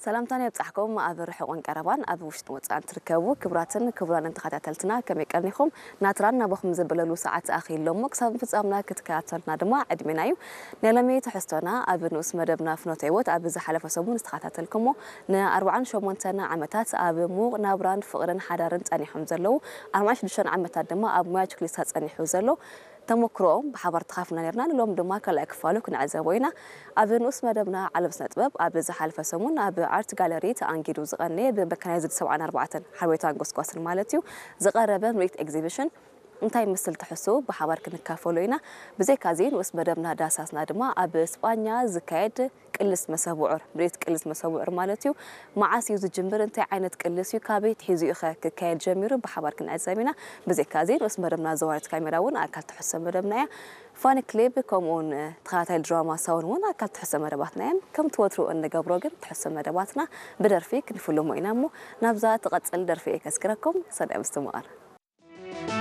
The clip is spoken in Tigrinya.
ሰላምታና የብጻሕኩም። ኣብ ርሑቕን ቀረባን፣ ኣብ ውሽጥን ወጻእን ትርከቡ ክቡራትን ክቡራንን ተኸታተልትና፣ ከመይ ቀኒኹም? ናትራን ናባኹም ዘበለሉ ሰዓት ኣኺሉ እሞ፣ ክሳብ ፍጻምና ክትከታተልና ድማ ዕድሜና እዩ። ናይ ሎሚ ትሕዝቶና ኣብ ንኡስ መደብና ፍኖተ ህይወት ኣብ ዝሓለፈ ሰሙን ዝተኸታተልኩሞ፣ ንኣርብዓን ሸሞንተን ዓመታት ኣብ ምዉቕ ናብራን ፍቕርን ሓዳርን ጸኒሖም ዘለዉ ኣርባዓን ሽዱሽተን ዓመታት ድማ ኣብ ሞያ ችክሊስታ ጸኒሑ ዘሎ ተመክሮኦም ብሓባር ተኻፍና ነርና። ንሎም ድማ ካልኣይ ክፋሉ ክንዕዘቦ ኢና። ኣብ ንኡስ መደብና ዓለም ስነ ጥበብ ኣብ ዝሓለፈ ሰሙን ኣብ ኣርት ጋለሪ ተኣንጊዱ ዝቐነየ ብመካናይዝድ ሰብዓን ኣርባዕተን ሓርቤታን ጎስጓስን ማለት እዩ ዝቐረበ ምርኢት ኤግዚቢሽን እንታይ ምስል ትሕሱ ብሓባር ክንካፈሎ ኢና። ብዘይካዚ ንኡስ መደብና ዳሳስና ድማ ኣብ ስጳኛ ዝካየድ ቅልስ መሰብ ውዑር፣ ምርኢት ቅልስ መሰብ ውዑር ማለት እዩ። መዓስ እዩ ዝጅምር? እንታይ ዓይነት ቅልስ እዩ? ካበይ ትሒዙ እዩ ኸ ክካየድ ጀሚሩ? ብሓባር ክንዕዘብ ኢና። ብዘይካዚ ንኡስ መደብና ዘዋሪት ካሜራ እውን ኣካል ትሕሶ መደብና እያ። ፋኒ ክሊብ ከምኡውን ተኸታታይ ድራማ ሳውን እውን ኣካል ትሕሶ መደባትና እዮም። ከም ትወትሩ እንገብሮ ግን ትሕሶ መደባትና ብደርፊ ክንፍልሞ ኢና እሞ ናብዛ ትቐጽል ደርፊ እየ ከስክረኩም። ሰናይ ምስትምቓር።